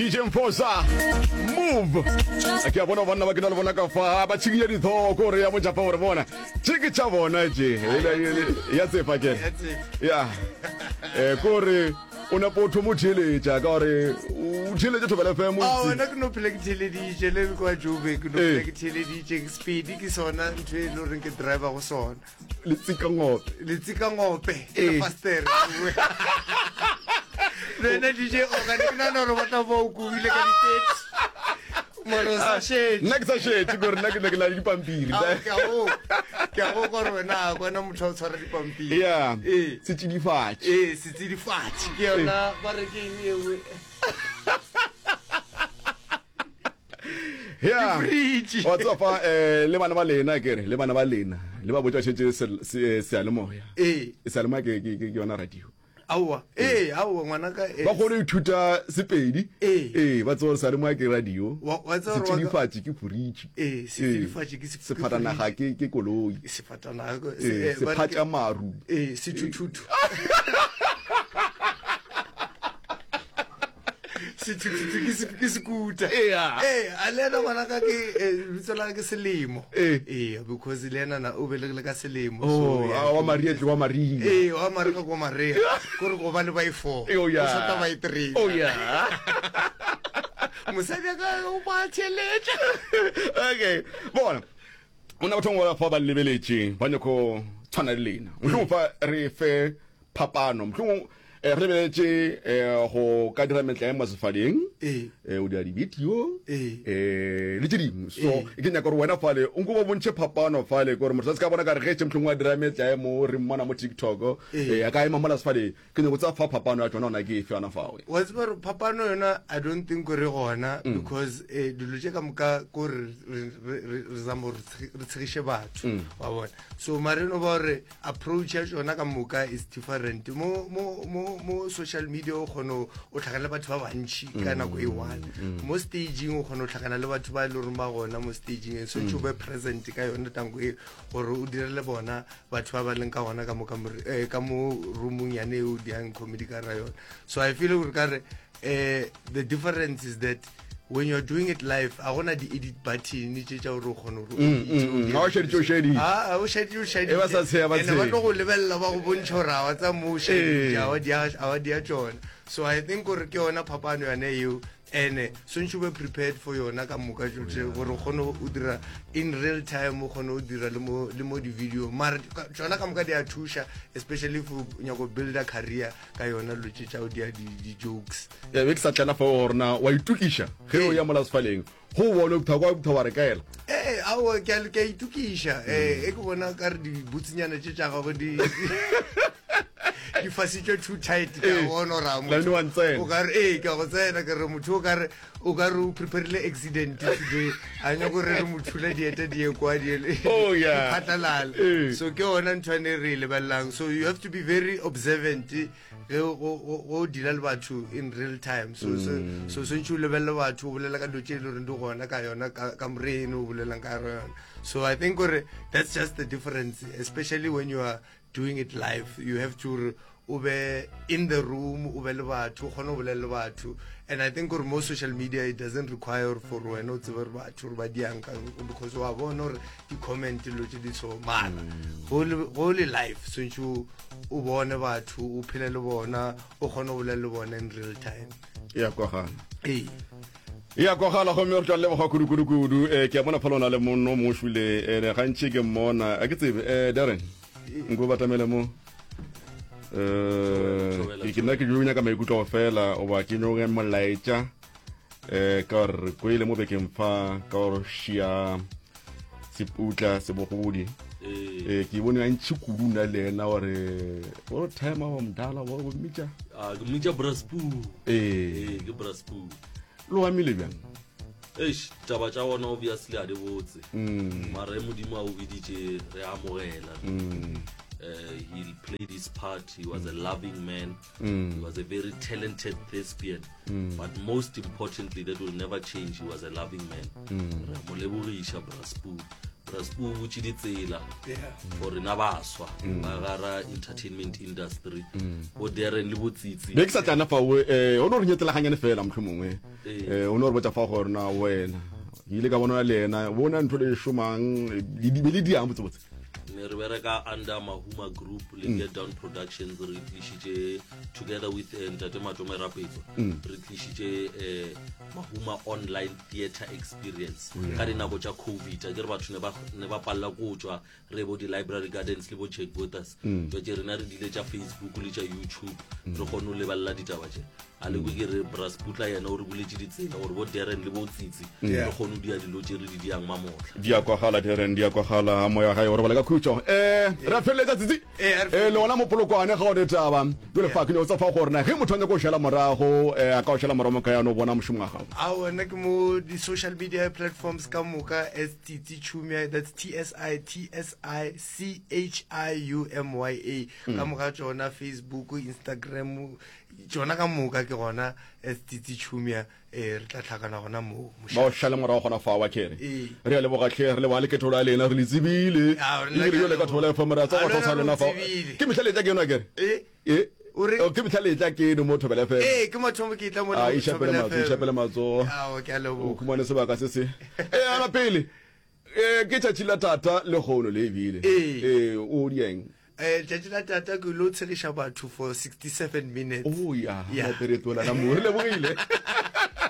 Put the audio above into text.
DJ Mfosa move ke a bona banna ba ke na le bona ka fa ba tšhikinya dithoko gore ya mojapa gore bona tše ke tša bona tše ya tsefa ke ya eh kore o nepo o thomo theeletša ka gore o theeletše thobela fm a wena ke no phela ke theeleditše le kwa joburg ke no phela ke theeleditše speed ke sona ntho e le goreng ke driver go sona letsikangope letsikangope ke fastere le wena dj ogane ke nana gore batla ba o kobile ka di-30 moro sa šetše nna ke sa šetše kore nna ke ne ke na le dipampiri ke a go gore wena a kwana motho a o tshwara dipampiri ya setsidifatši ee setsidifatši ke yona ba re ke eng ewe ya wa tseba fa eh, le bana ba lena ke re le bana ba lena le ba botsa šetse seyalemoya ee seyalemoya ke yona radio aowa ee aowa ngwanaka eh. ba kgone go ithuta sepedi ee ee ba tseba gore seyalemoya ke radio Wa- wa tseba gore wa ka- setsidifatši ke foritši ee setsidifatši ke se- sefatanaga ke ke koloi sefatanaga ee eh, ba re ke- sephatša maru ee sethuthuthu sethuthuthu ke se- ke sekuta Ea. ee a le ena ngwanaka ke eh, lebitso la ka ke selemo Ee. ee because le ena na o belegile ka selemo Oh, so, yeah, ah, wa maria tle wa maria ee wa marega ko marea kore go ba le ba e four Oh, yeah. o shota ba e three oh yeah mosadi a ka o ba tšheletša okay bona o na batho ba fa ba lebeletše ba nyako tshwana le lena mohlomong fa re fe phapano mohlomong eh, re lebeletše eh, go ka dira metlae mo sefaleng Ee. eh, o dira di-video Ee. eh, le tše dingwe so Ee. ke nyaka gore wena fale o nko ba bontšhe phapano fale kore motho a se ka bona ka re ge tše mohlomongwe a dira metlae mo re mmona mo tiktok Ee. eh, a ka ema mola sefaleng ke nyako tsa fa phapano ya tšona ona ke efe yona fawe wa tseba gore phapano yona i don't think gore gona because eh, dilo tše ka moka ko re re- re- re re zama gore re tshegiše batho wa bona so mare no ba gore approach ya tšona ka moka is different mo mo mo mo social media o kgona o tlhakana le batho ba bantši ka nako e one mo staging o kgona o tlhakana le batho ba e le goreng ba gona mo staging and swantse o be present ka yone tanko e gore o direle bona batho ba ba leng ka gona ka mo eh, ka mo roomong yane e o diang comedy ka ra yona so i feel gore kare eh, the difference is that when you're doing it live a gona di-edit button tše tša gore o kgone gore mm, mm, mm. o šeditše o šeditše ah, o šeditše o šeditše e ba sa tsheya ba tsheya ba tlo go lebelela ba go bontšha gore a wa tsa mo o šeditše a wa dia tšona so i think gore ke yona phapano yone eo ene swantšhe o be prepared for yona ka moka tšohle gore o kgone o dira in real time o kgone o dira le mo le mo di-video mara tšona ka moka di a thuša especially if o nyako builda career ka yona dilo tše tša go dia di-jokes ya be ke sa tlena fao gore na wa itokiša ge o ya mola sefaleng go bone o kwa botha wa re kaela ee aowa ke a ke a itokiša ee e ke bona ka re dibutsinyana tše tša gagwe di di fasitšwe too tight ke a bona gore a Lane wa ntsena. o ka re ee ke a go tsena ke re motho o ka re o ka re o preparile accident today a nyako re re mo thula dieta di ye kwa di Oh, yeah. phatlalala Ee. so ke yona ntho ane re e lebelelang so you have to be very observant ge go deala le batho in real time so so so swantšhe o lebelele batho o bolela ka dilo tše e le goreng di gona ka yona ka moreno o bolelang ka yona so i think gore that's just the difference especially when you are doing it live you have to o be in the room o be le batho o kgone go bolela le batho and i think gore mo social media it doesn't require for wena o tsebe gore batho gore ba diang ka because wa bona gore di-comment dilo tse di so mara go le live swantšhe o bone batho o phele le bona o kgone go bolela le bona in real time ya kwagala ee ya kwagala gomme re tla leboga kudu-kudu-kudu um ke a bona fa lona le monno mo šule ene gantši ke mmona a ke tsebe um darren nko batamele mo um ke nna ke jo nyaka maikutlo fela oba ke nyoge molaetša um ka gore re kwele mo bekeng fa ka gore šia seputla sebogodi ee ke bone gantši kudu nna le ena gore o timer wa mdala wa go mmitša ah, ke mmitša braspu ee ke braspu lo amile bjang eish taba tša gona obviously a di botse mm. mara e modimo a o biditše re amogela mm. uh, he played his part he was a loving man mm. he was a very talented thespian mm. but most importantly that will never change he was a loving man mm. re mo lebogiša braspu. Raspo o butše ditsela for rena baswa ba gara entertainment industry bo Darren le bo Tsitsi. Be ke sa tlana fao eh o no re nyetelaganyane fela mohlomongwe. Ee. Eh o no re botša fa gore na wena ke ile ka bona le yena bona ntho le šomang le di be le diang botsebotse. Ne re bereka under Mahuma Group le Get Down Productions re tlišitše together with eh, Ntate Matome Rapetso re tlišitše eh, Mahuma Online Theatre Experience ka dinako tša Covid a ke re batho ne ba ne ba palela ko tšwa re bo di-library gardens le bo Jack Botas jwa rena re dile tša Facebook le tša YouTube re kgone go lebelela ditaba tše a le kwe ke re Brasputla yena o re buletše ditsela gore bo Darren le bo Tsitsi re kgone go dia dilo tše re di diang mamohla. Di a kwagala Darren, di a kwagala. Moya wa gae o robala ka khutšo. Eh, re a feleletša Tsitsi. Ee, a re Eh, le feleletše. gona mo Polokwane ga o ne taba. Jwale fa ke nyaka go tseba fa gore na ge motho a nyaka go šala morago, eh, a ka o šala morago mo kae a no bona mošomo wa gago? Aowa, nna ke mo di-social media platforms ka moka as Tsitsi Chumia, that's T S I T S I C H I U M Y A. Ka moka tšona, Facebook, Instagram, tšona ka moka ke gona as Tsitsi Chumia. Ee, re tla hlakana gona moo, Ba o mošate. šale morago gona fao, a ke re. Ee. Re a leboga hle, re leboga le ketolo ya lena, re le tsebile. A, rena Ebile ke a bjale ka leboga. Thobela FM re a A, tseba le go wena sa re lena o fao. tsebile. Ke mehla letla ke eno, a ke re. E? E? O re? Oh, ke mehla letla ke eno mo Thobela FM. Ee, ke mathomo ke etla mona A, mo iša pele Thobela matsogo, FM. iša pele matsogo. Ao, ke a O leboga. khumane sebaka se se. E, ana pele. E, ke tšatši la tata lehono le ebile. Ee. E, o di eng? Eh, letšatši la tata ke lo tshegiša batho for 67 minutes. Oh, ya, Ya. la pere tola la mo. Re lebogile.